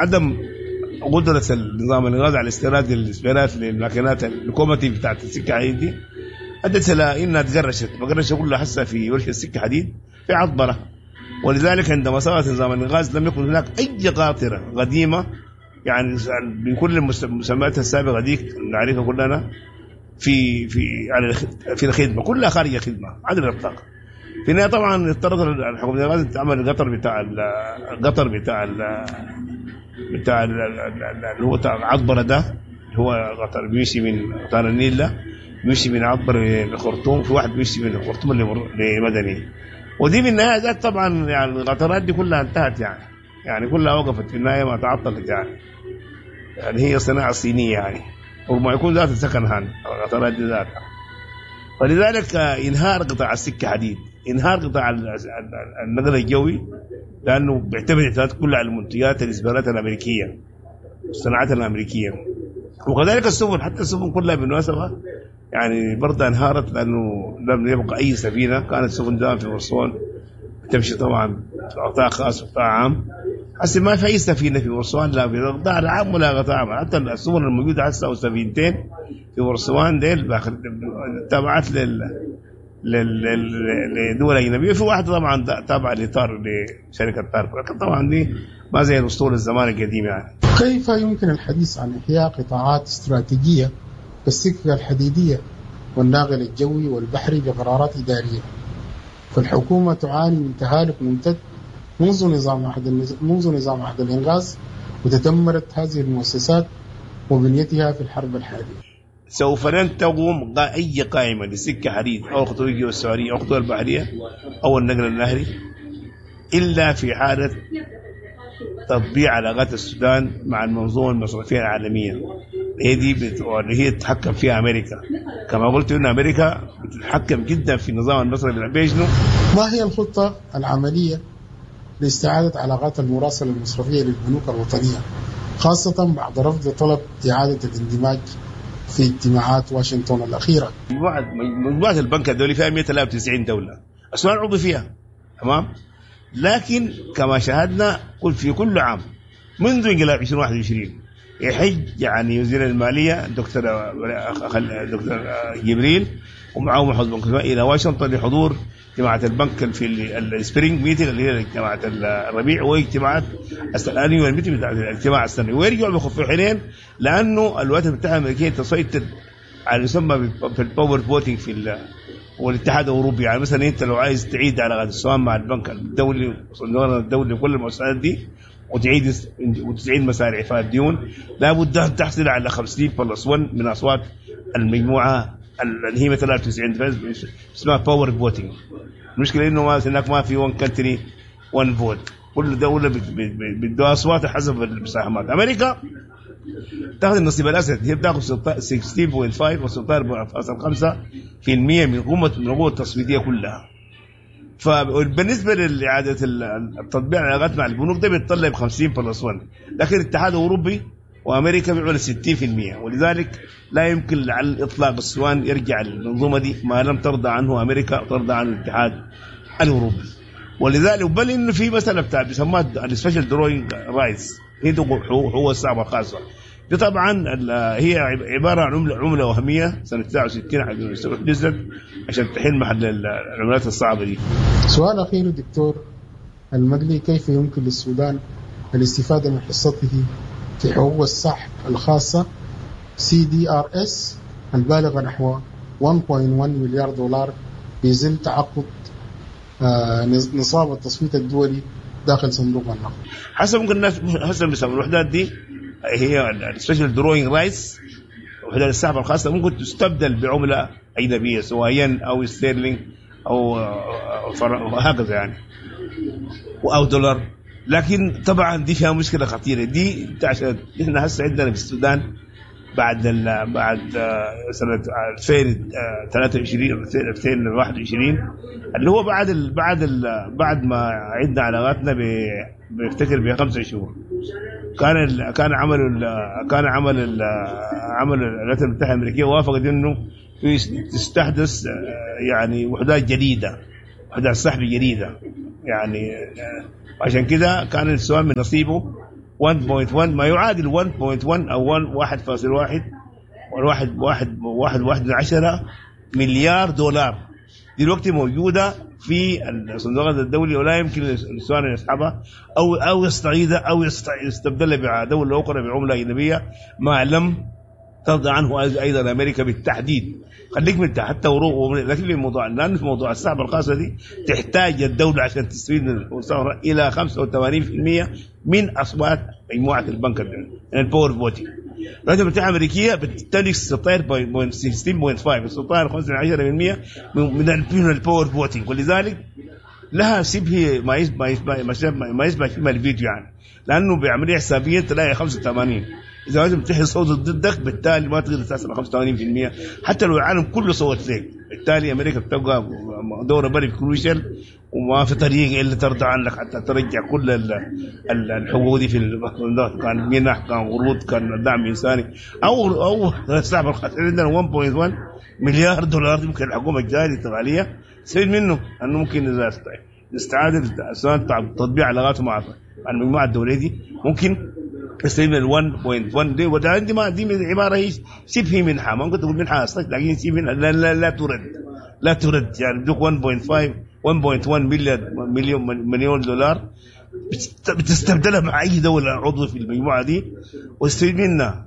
عدم قدرة النظام الإنقاذ على استيراد الإسبيرات للماكينات ال locomotive بتاعت السكة حديد دي أدت إلى إنها تقرشت، مقرشة كلها هسه في ورشة السكة حديد في عطبرة. ولذلك عندما سقط نظام الإنقاذ لم يكن هناك أي قاطرة قديمة يعني بكل المسميات السابقة ديك نعرفها كلنا في في على في الخدمة، كلها خارج الخدمة عدم الإطلاق. في النهاية طبعا اضطرت الحكومة الإنقاذ تعمل القطر بتاع القطر بتاع ال بتاع اللي هو بتاع عطبرة ده، اللي هو قطر بيمشي من قطار النيل ده بيمشي من عطبرة للخرطوم، في واحد بيمشي من الخرطوم لمدني. ودي في النهاية ذات طبعا يعني القطارات دي كلها انتهت يعني كلها وقفت في النهاية ما تعطلت يعني هي صناعة صينية يعني، وما يكون ذات second hand القطارات دي ذاتها. فلذلك انهار قطاع السكة حديد، انهار قطاع النقل الجوي، لانه بيعتمد اعتماد كله على المنتجات الاسبانات الامريكية والصناعات الامريكية، وكذلك السفن، حتى السفن كلها بالمناسبة يعني برضه انهارت لانه لم يبقى اي سفينة. كانت السفن زمان في بورسوان تمشي طبعا قطاع خاص وقطاع عام، هسه ما في اي سفينة في بورسوان، لا في القطاع العام ولا قطاع عام. حتى السفن الموجودة هسه او سفينتين في بورسوان ديل تابعات لدول اجنبية، في واحدة طبعا تابعه لطار لشركة تاركو، لكن طبعا دي ما زي الاسطول الزمان القديم يعني. كيف يمكن الحديث عن احياء قطاعات استراتيجية كالسكه الحديدية والناقل الجوي والبحري بقرارات ادارية؟ فالحكومة تعاني من تهالك ممتد منذ نظام عهد الانغاز، وتدمرت هذه المؤسسات وبنيتها في الحرب الحالية. سوف لن تقوم اي قائمة لسكه حديد او خطوط الجو السعودية او خطوط البحرية او النقل النهري الا في حاله تطبيع علاقات السودان مع المنظومة المصرفية العالمية، هي دي اللي هي تتحكم فيها امريكا. كما قلت ان امريكا بتتحكم جدا في النظام المصرفي العالمي. شنو؟ ما هي الخطة العملية لاستعادة علاقات المراسله المصرفية للبنوك الوطنية، خاصة بعد رفض طلب اعاده الاندماج في اجتماعات واشنطن الاخيرة؟ مجموعة البنك الدولي فيها 193 دولة، السودان عضو فيها، تمام؟ لكن كما شاهدنا في كل عام منذ انقلاب 2021 يحج يعني وزير المالية دكتور جبريل ومعه محافظ بنك الى واشنطن لحضور اجتماعات البنك في ال spring meeting اللي هي اجتماعات الربيع واجتماعات ال annual meeting بتاع الاجتماع السنوي، ويرجعوا بخف حنين لانه الولايات المتحدة الامريكية تسيطر على يسمى في ال power voting في والاتحاد الاوروبي. يعني مثلا انت لو عايز تعيد علاقات السودان مع البنك الدولي والصندوق الدولي وكل المؤسسات دي وتعيد مسار اعفاء الديون، لابد ان تحصل على 50 plus 1 من اصوات المجموعة اللي هي 93 اسمها power voting. المشكلة انه ما هناك ما في 1 country 1 vote، كل دولة بتدوها اصوات حسب المساهمات. امريكا تاخذ النصيب الاسد، هي بتاخذ 16.5 و 16.5% من قوة التصويتيه كلها. فبالنسبه لاعادة التطبيع العلاقات مع البنوك ده بيتطلب 50 plus 1، لكن الاتحاد الاوروبي وامريكا بيعملوا 60%، ولذلك لا يمكن على الاطلاق السودان يرجع للمنظومة دي ما لم ترضى عنه امريكا وترضى عنه الاتحاد الاوروبي. ولذلك بل انه في مسالة بتاع بيسموها ال special drawing rights، هي حقوق السحب الخاصة دي طبعا هي عبارة عن عمله وهمية سنة 69 نزلت عشان تحل محل العملات الصعبة دي. سؤال اخير دكتور المدلي، كيف يمكن للسودان الاستفادة من حصته في حقوق السحب الخاصة CDRs البالغة نحو 1.1 مليار دولار في ظل تعقد نصاب التصويت الدولي داخل صندوق النقد؟ حسب ممكن الناس حسب بيسموا الوحدات دي هي ال special drawing rights، وحدات السحب الخاصة ممكن تستبدل بعمله اجنبية سواء ين او ستيرلينج او هكذا يعني او دولار. لكن طبعا دي فيها مشكلة خطيرة دي، عشان احنا هسه عندنا في السودان بعد سنة 2023 2021 اللي هو بعد ما عدنا علاقاتنا بفتكر ب5 شهور كان عمل عمل الولايات المتحدة الامريكية وافقت انه تستحدث يعني وحدات جديدة. وحدات سحب جديدة. يعني عشان كده كان السؤال من نصيبه 1.1 ما يعادل 1.1 او 1.1 والواحد واحد واحد واحد من عشرة مليار دولار دلوقتي موجودة في الصندوق الدولي، ولا يمكن للسودان أن يسحبها أو يستعيدها أو يستبدلها بدولة أخرى بعملة أجنبية ما لم ترضى عنه أيضا أمريكا بالتحديد. خليك من حتى لكن في موضوع، لأن في موضوع السحب الخاصة دي تحتاج الدولة عشان تستفيد من المستثمر إلى 85% من أصوات مجموعة البنك الدولي، يعني ال power voting. الولايات المتحدة الأمريكية بتمتلك 16.5 16.5% من ال power voting، ولذلك لها شبه ما يشبه شبه الفيتو يعني، لأنه بعملية حسابية تلاقي 85. إذا الولايات المتحدة صوتت ضدك بالتالي ما تقدر تصل 85% حتى لو العالم كله صوت لك. بالتالي أمريكا بتبقى دورة very crucial، وما في طريقة إلا ترضى عنك حتى ترجع كل الحقوق دي في كان منح، كان قروض، كان دعم إنساني أو السحب الخاص. عندنا 1.1 مليار دولار ممكن الحكومة الجاية الانتقالية تستفيد منه، لأنه ممكن إذا استعادت تطبيع علاقاته مع المجموعة الدولية دي ممكن تستفيد من 1.1 دي. وده عندي ما دي عبارة هي شبه منحة، ما ممكن تقول منحة أصلا، لكن شبه منحة لا, لا, لا ترد، لا ترد. يعني بدوك 1.5 1.1 مليون دولار بتستبدلها مع أي دولة عضو في المجموعة دي وتستفيد منها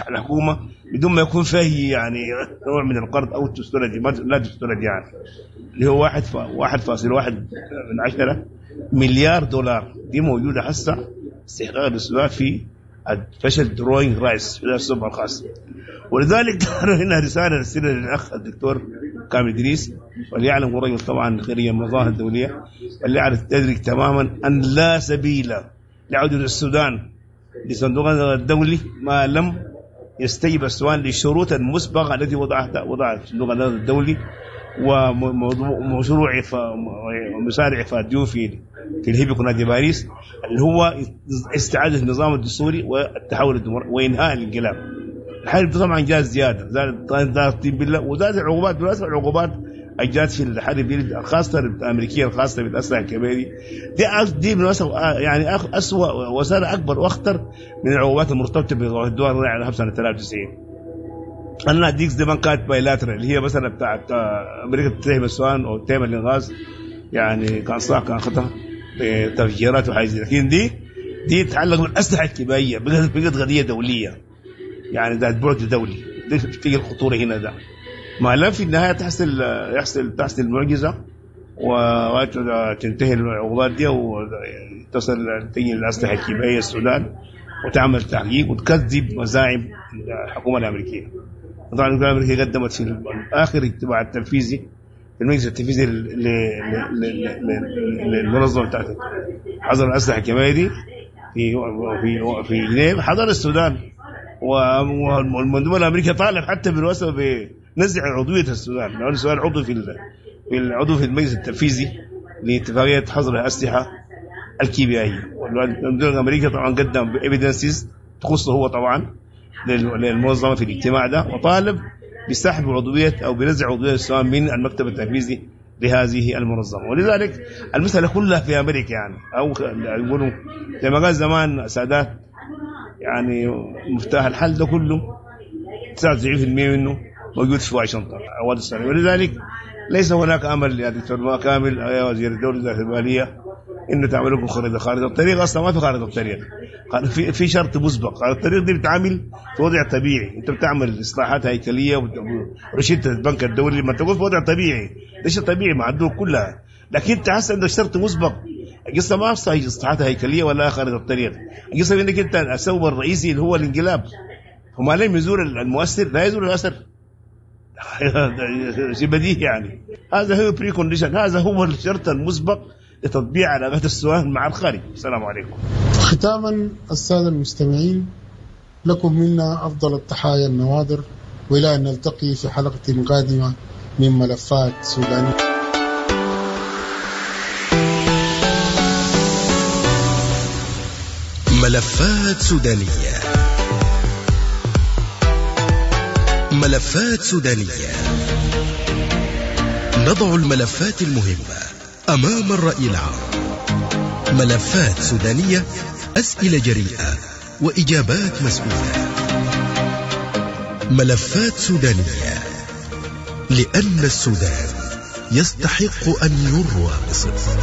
الحكومة بدون ما يكون فيه يعني نوع من القرض أو تسترد، لا تسترد يعني، اللي هو 1.1 مليار دولار دي موجودة هسه استحقاق السودان في special drawing rights في السوق الخاص. ولذلك هنا رسالة رسالة للأخ الدكتور كامل إدريس، وليعلم الرجل طبعا خريج المنظمة الدولية، وليعرف تدرك تماما أن لا سبيل لعودة السودان لصندوق الدولي ما لم يستجب السودان للشروط المسبقة التي وضعها صندوق النقد الدولي ومشروع ومسارع فاديو في الهيبك ونادي باريس، اللي هو استعادة النظام الدستوري والتحول الديمقراطي وإنهاء الانقلاب. الحرب طبعا جاء زيادة، زاد الطين بالله، وزاد العقوبات. بالمناسبة العقوبات الجات في الحرب الخاصة الأمريكية الخاصة بالأسلحة الكبيرة دي بالمناسبة يعني أسوأ وسالة أكبر وأخطر من العقوبات المرتبطة بالدول على سنة 93. أنا أديك زمان كانت bilateral اللي هي مثلا بتاعت أمريكا تتهم السودان أو تتهم الإنغاز، يعني كان صح كان خطأ بتفجيرات وحاجات، لكن دي تتعلق بالأسلحة الكيميائية، بقت قضية دولية يعني ذات بعد دولي. دي تيجي الخطورة هنا ده ما لم في النهاية تحصل معجزة وتنتهي العقوبات دي وتصل تيجي الأسلحة الكيميائية السودان وتعمل تحقيق وتكذب مزاعم الحكومة الأمريكية. طبعا الحكومة الأمريكية قدمت في آخر اجتماع التنفيذي في المجلس التنفيذي للمنظمة بتاعت حظر الأسلحة الكيميائية دي في في في جنيف، حضر السودان والمندوب الأمريكي طالب حتى بالواسطة بنزع عضوية السودان، لأن السودان عضو في العضو في المجلس التنفيذي لاتفاقية حظر الأسلحة الكيميائية. والمندوب الأمريكي طبعا قدم evidences تخصه هو طبعا للمنظمة في الاجتماع ده، وطالب بسحب عضوية أو بنزع عضوية السودان من المكتب التنفيذي لهذه المنظمة. ولذلك المسألة كلها في أمريكا يعني، أو يقولوا زي ما قال زمان سادات يعني مفتاح الحل ده كله 99% منه موجود في واشنطن أوائل السنة. ولذلك ليس هناك أمل يا دكتور كامل يا وزير الدولة المالية إنه تعمل لكم خريطة الطريق. أصلا ما في خارطة الطريق، في شرط مسبق. خارطة الطريق دي بتعمل في وضع طبيعي، أنت بتعمل إصلاحات هيكلية ورشدة البنك الدولي، ما تقول في وضع طبيعي، ده شيء طبيعي مع الدول كلها، لكن أنت حاسس عندك شرط مسبق. القصة ما في إصلاحات هيكلية ولا خارطة الطريق، القصة إنك أنت السبب الرئيسي اللي هو الانقلاب، وما لم يزول المؤثر لا يزول الأثر. شيء بديهي يعني. هذا هو precondition، هذا هو الشرط المسبق لتطبيع علاقات السودان مع الخارج. السلام عليكم. ختاما السادة المستمعين، لكم منا أفضل التحايا النوادر، وإلى أن نلتقي في حلقة قادمة من ملفات سودانية. ملفات سودانية، ملفات سودانية، نضع الملفات المهمة. أمام الرأي العام. ملفات سودانية، أسئلة جريئة وإجابات مسؤولة. ملفات سودانية، لأن السودان يستحق أن يروى بصدق.